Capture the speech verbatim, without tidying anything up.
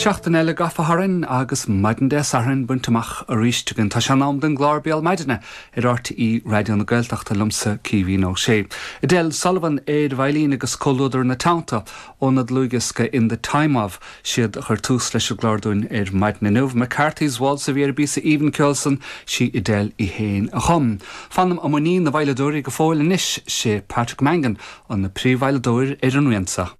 Seachtain eile gafa tharainn agus maidin Dé Sathairn bainte amach arís againn tá sé in am don gclár Béal Maidine ar RTÉ Raidió na Gaeltachta liomsa Caoimhín Ó Sé. Adele Sullivan ar veidhlín agus comhluadar ina teannta óna dlúthdhiosca in the time of siad a chuir tús leis an gclár dúinn ar maidin inniu. McCarthy's Waltz a bhí ar bpíosa aoibhinn ceoil san sí Adele í féin a chum. Fanaim i muinín na veidhleadóirí go fóill anois sé Patrick Mangan an príomhveidhleadóir ar an rian seo.